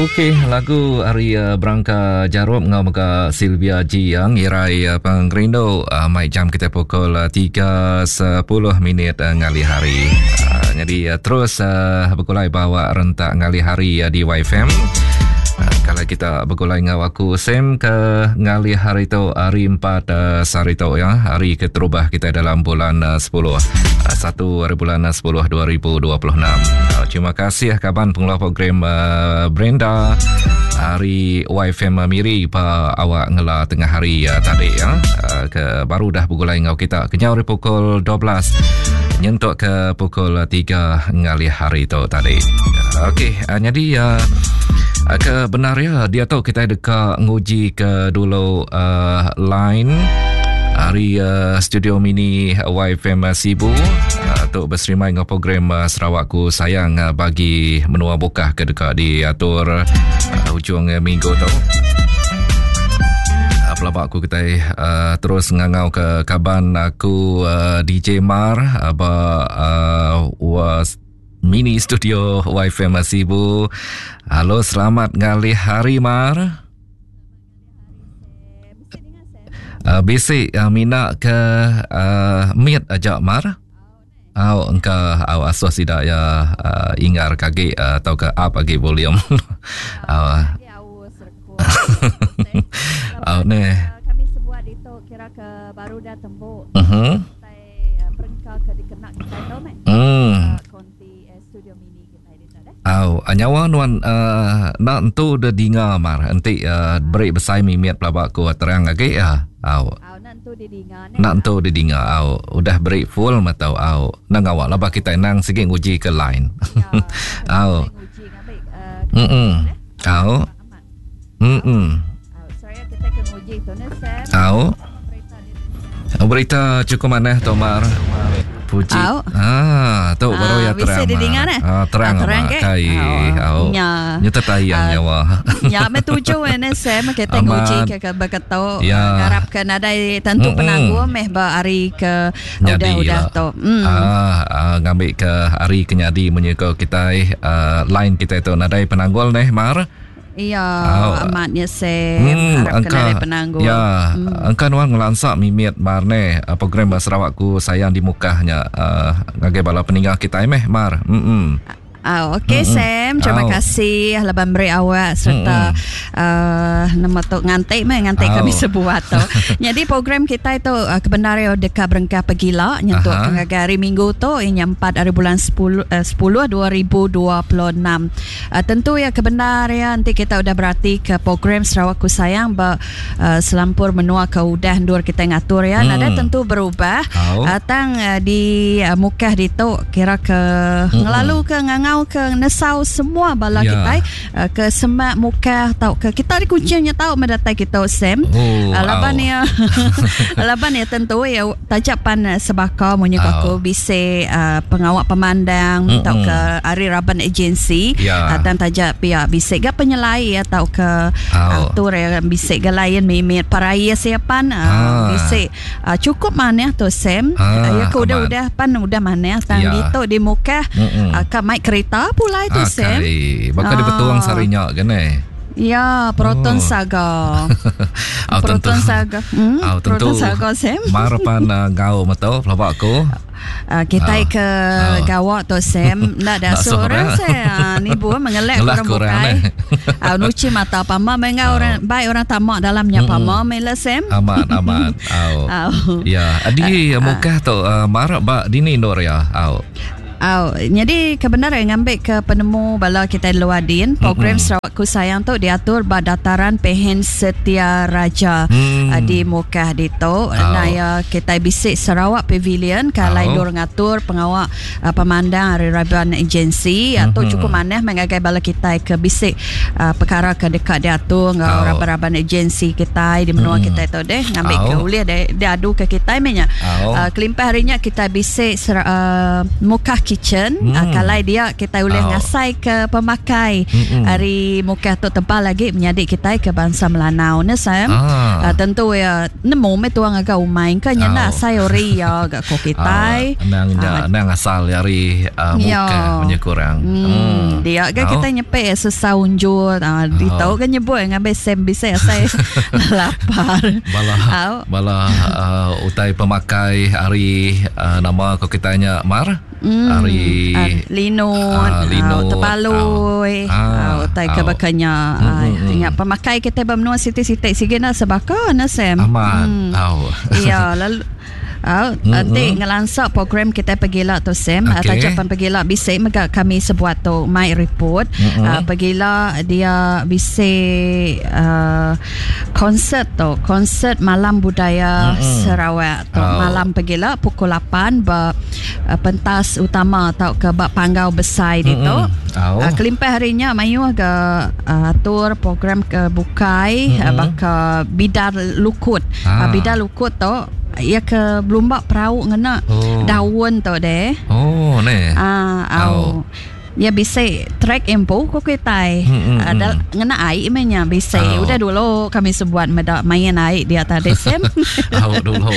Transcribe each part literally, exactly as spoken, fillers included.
Okey, lagu hari uh, Berangka Jarup ngau mega Sylvia G yang irai uh, pengerindu uh, mai jam kita pukul uh, tiga sepuluh minit uh, ngalih hari. Uh, jadi uh, terus uh, bergulai bawa rentak ngalih hari uh, di Y F M. Uh, kalau kita bergulai ngau aku Sam ke ngalih hari tu hari empat uh, sehari tu ya, hari keterubah kita dalam bulan uh, sepuluh. Uh, satu hari bulan sepuluh dua ribu dua puluh enam. Uh, terima kasih kaban pengelola program uh, Brenda hari Y F M Miri pa awak ngela tengah hari uh, tadi ya. Uh, ke baru dah bergulai ngau kita kenyau hari pukul dua belas nyentuk ke pukul tiga ngalih hari tu tadi. Uh, Okey, uh, jadi uh, ke benar ya dia tu kita dekat nguji ke dulu uh, line hari uh, studio mini Y F M Sibu uh, untuk berserimai dengan program uh, Sarawakku Sayang uh, bagi menua bukah ke dekat diatur uh, hujung uh, minggu tu. Uh, pelabak aku kita uh, terus ngangau ke kaban aku uh, D J Mar uh, ba, uh, was mini studio Y F M Sibu. Halo, selamat ngalih hari Mar. Uh, basic uh, mina ke uh, meet aja Mar. Au engka au asuh sida ya uh, ingar kage uh, atau ke up agi volume. Au. Au ne. Kami sebuat itu kira ke baru dah tembuk. Mhm. Perengka ke dikena kita tu meh. Hmm. Konti studio mini kita di tu deh. Au, nyawa nuan uh, nak entu de dinga Mar. Enti uh, beri besai mimit pelabak ku terang agi ya. Au. Au nak entu didinga ne. Nak entu didinga au. Udah beri full matau au. Nang awak laba kita nang sigi nguji ke line. Ya, au. Nguji ngambil uh, Mm-mm. Au. Mm-mm. Au, saya kita ke nguji tu ne Sam. Au. Berita cukup manah Tomar. Puji. Au. Ah, tu baru ya terang. Bisa didinga ne. Ah, terang, ah, terang ke? Kai. Au. Nya. Nyata tayang uh, nyawa. Nya me tuju ne Sam kita nguji ke ke beketo ya. Ngarap ke nadai tentu penangguh meh ba hari ke udah-udah tu. Mm. Ah, ah, ngambil ke hari kenyadi menyuka kita uh, line kita tu nadai penanggul neh Mar. Iya, oh, amatnya Sam. Hmm, harap angka, kena ada penangguh. Ya, hmm. Angka nuan ngelansak mimit Mar ne program Sarawakku Sayang di mukahnya uh, ngagai bala peninggal kita meh Mar. Hmm. Ah, okey mm-hmm. Sam, terima oh. kasih leban beri awak serta mm-hmm. uh, nama tu ngantik meh ngantik oh. kami sebuat tu. Jadi program kita itu uh, kebenaran dekat berengkah pegila nyentuk ke hari Minggu tu inya empat hari bulan sepuluh uh, sepuluh dua ribu dua puluh enam. Uh, tentu ya kebenaran nanti kita udah berarti ke program Sarawakku Sayang ba uh, selampur menua ke udah ndur kita ngatur ya. Mm. Nada tentu berubah. Oh. Uh, tang uh, di uh, mukah ditu kira ke mm-hmm. ngelalu ke ngangau ke nesau semua bala ya. kita uh, ke semak muka tau ke kita di kucingnya tau mendatai kita Sam. Oh, uh, laban oh. ya laban ya tentu ya tajapan sebaka munyi oh. aku bise uh, pengawak pemandang mm-mm. tau ke ari raban agensi ya. uh, dan tajak pihak bise ga penyelai ya tau ke oh. atur ya bise ga lain mimit paraya siapan uh, ah. bise uh, cukup maneh tu Sam. Ah, uh, ya ke udah-udah pan udah maneh tang ya. gitu di muka uh, ka mic kereta pulai tu ah, Sam. Bakal ah. dia betuang sarinya kan eh. Ya, Proton oh. Saga. Oh, Proton tentu. Saga. Hmm, oh, tentu. Proton Saga Sam. Marapan uh, ngau metu pelabak aku. Uh, kita oh. ke oh. gawak tu Sam. Ndak ada suara saya. Ni bu mengelak orang bukai. Ah, nuci mata pama mengau oh. orang baik orang tamak dalamnya mm-mm. pama mela Sam. Amat amat. Oh. Oh. Ya, di uh, muka tu uh, marak ba dini Nur ya. Oh. Oh, jadi kebenaran ngambil ke penemu bala kita luar din program mm-hmm. Sarawakku Sayang tu diatur ba dataran Pehen Setia Raja mm. uh, di Mukah ditu. Oh. Nah ya kita bisik Sarawak Pavilion kalai oh. dor ngatur pengawak uh, pemandang hari Raban Agensi mm-hmm. atau cukup manah mengagai bala kita ke bisik uh, perkara ke dekat diatur ngau oh. raban-raban agensi kita di menua mm. kita tu deh ngambil oh. ke ulih dia, dia adu ke kita menya. Oh. Uh, kelimpah harinya kita bisik uh, Mukah Kitchen. Hmm. Uh, kalau dia kita boleh oh. ngasai ke pemakai hmm. hari Mukah tu tebal lagi menyadik kita ke bangsa Melanau ne Sam. Ah. Uh, tentu ya nemu me tuang agak umai ke nyanda oh. asai ori ya gak ko kita. Oh. Nang uh, nang asal dari uh, Mukah punya kurang. Hmm. Hmm. Dia ke oh. kita nyepek sesaunjur uh, di tau kan nyebut ngambil Sam bisa asai lapar. Bala oh. bala uh, utai pemakai hari uh, nama ko kita nya Mar. Mm, hari uh, linut, uh, linut, uh, tebaloi, uh, uh, utai uh, kebakanya. Mm, mm, Ingat pemakai kita bermenua siti-siti sigina sebaka na Sam. Aman. Mm. Oh. Ya, lalu Oh, nanti mm-hmm. ngelansak program kita pergilah tu Sam. Okay. Tajapan pergilah bisik mega kami sebuat tu my report. Mm-hmm. Uh, pergilah dia bisik uh, konsert tu, konsert malam budaya mm-hmm. Sarawak tu. Oh. Malam pergilah pukul lapan ber, uh, pentas utama atau ke bak panggau besar mm-hmm. itu. Oh. Uh, kelimpah harinya mayu ke uh, atur program ke bukai mm-hmm. uh, baka bidar lukut. Ah. Uh, bidar lukut tu ia ke belumba perahu ngena oh. daun tu deh. Oh ne. Ah, au. Oh. Ya bisa trek empo ko kitai. Hmm, hmm, Ada hmm. ngena air menya bisa. Oh. Udah dulu kami sebuat meda main air dia tadi Sam. Au dulu.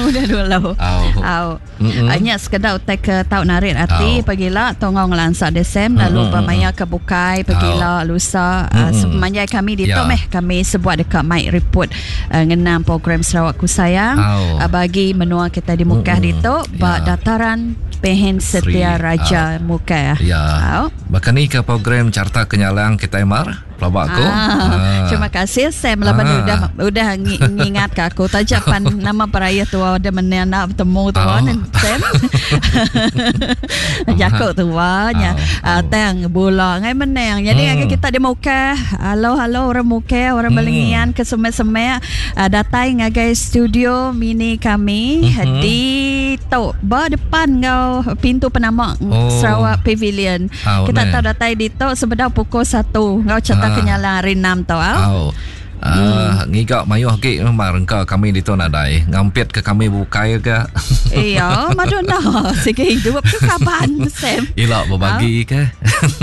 Udah dulu. Au. Au. Mm-mm. Hanya sekedar utai ke tau narik hati Au. pergilah tongong ngelansak desem lalu Mm-mm. bermaya ke bukai pergilah lusa uh, Mm-mm. sepanjang kami di Ya. tu meh kami sebuat dekat mic report uh, ngenang program Sarawakku Sayang Au. uh, bagi menua kita di Mukah Mm-mm. di tu ba Ya. dataran Pehen Setia Sri, Raja ah. Mukah. Ya. Au. Bahkan ni ke program Carta Kenyalang kita Mar pelabak aku. Ah, terima kasih Sam laban Ah. udah udah ngi- ngingat ke aku tajapan nama peraya tua udah menenak bertemu tua Oh. oh. Sam. Jakuk tua nya. Oh. Ah, tang bola ngai menang. Jadi Hmm. hmm. kita di Mukah. Halo halo orang Mukah, orang Hmm. Belengian ke semek-semek ah, datang ngagai studio mini kami Mhm. di tok ba depan ngau pintu penamak Oh. Sarawak Pavilion. Oh, Kita ne. tahu datang di tok sebenar pukul satu ngau cerita Ah. kenyalang hari enam tau. Au. Au. Uh, hmm. Ngigak mayuh ke mar engka kami di tu nadai ngampit ke kami bukai ke. Iya, madonna sige hidup tu kapan Sam. Ilak berbagi ke.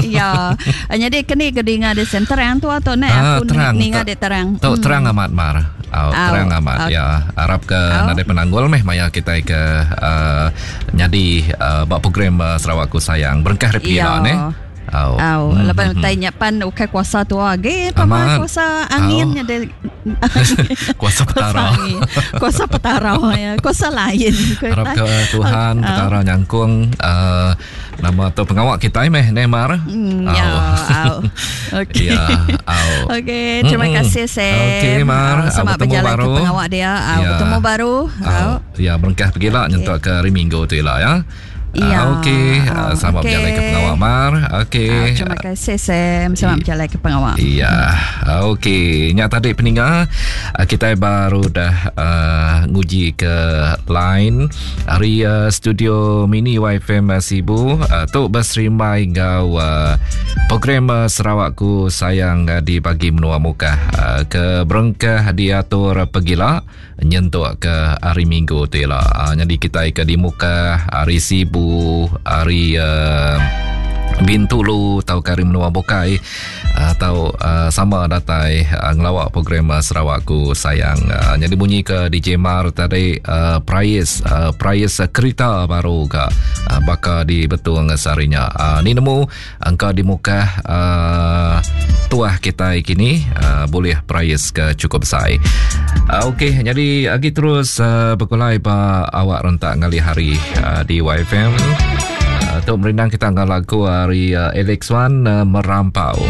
Iya. Jadi kini ke dinga di Sam terang tu atau nak Ah, aku terang. ninga Tok- dia terang. Tok Hmm. terang amat mar. Au, Au. terang amat Au. ya. Harap ke Au. nadai penanggul meh maya kita ke uh, nyadi uh, bak program uh, Sarawakku Sayang. Berengkah hari Iya. pila ne. Au. Au, Hmm, lepas hmm, utai nyapan ukai kuasa tua ge, Amat. pama kuasa anginnya de Kuasa petara. Kuasa angin. Kuasa petara ya, kuasa lain. Harap ke Tuhan Au. petara nyangkung uh, nama tu pengawak kita meh ne mar. Hmm, Au. ya, au. Okey. Ya, au. Okey, terima Mm-mm. kasih Sam. Okey, Mar. Au, Selamat Bertemu berjalan baru. ke pengawak dia. Au, Ya. bertemu baru. Au. Au. Ya, berengkah pergilah Okey. nyentuk ke hari Minggu tu lah ya. Ya. Ah, Okey, Au, Ah, selamat okey. berjalan ke pengawak Mar. Okey. Au, terima kasih Sam. Selamat I- berjalan ke pengawak. Iya, okey. Nyak tadi peninga kita baru dah uh, nguji ke line hari uh, studio mini Y F M Sibu uh, tu berserimbai ngau uh, program uh, Sarawakku Sayang uh, di bagi menua Mukah uh, ke berengkah diatur pergilah nyentuk ke hari Minggu tu lah. Uh, jadi kita ke di Mukah hari Sibu hari uh, Bintulu atau kari menua Bukai atau uh, sama datai uh, ngelawak program uh, Sarawakku Sayang. Uh, jadi bunyi ke D J Mar tadi uh, prize uh, prize uh, kereta baru ke uh, bakal di betung sarinya. Uh, ni nemu angka di muka uh, tuah kita kini uh, boleh prize ke cukup besar. Uh, Okey, jadi lagi terus uh, berkulai ba awak rentak ngali hari uh, di Y F M. Untuk merindang kita angkat lagu hari uh, Alex Wan uh, Merampau.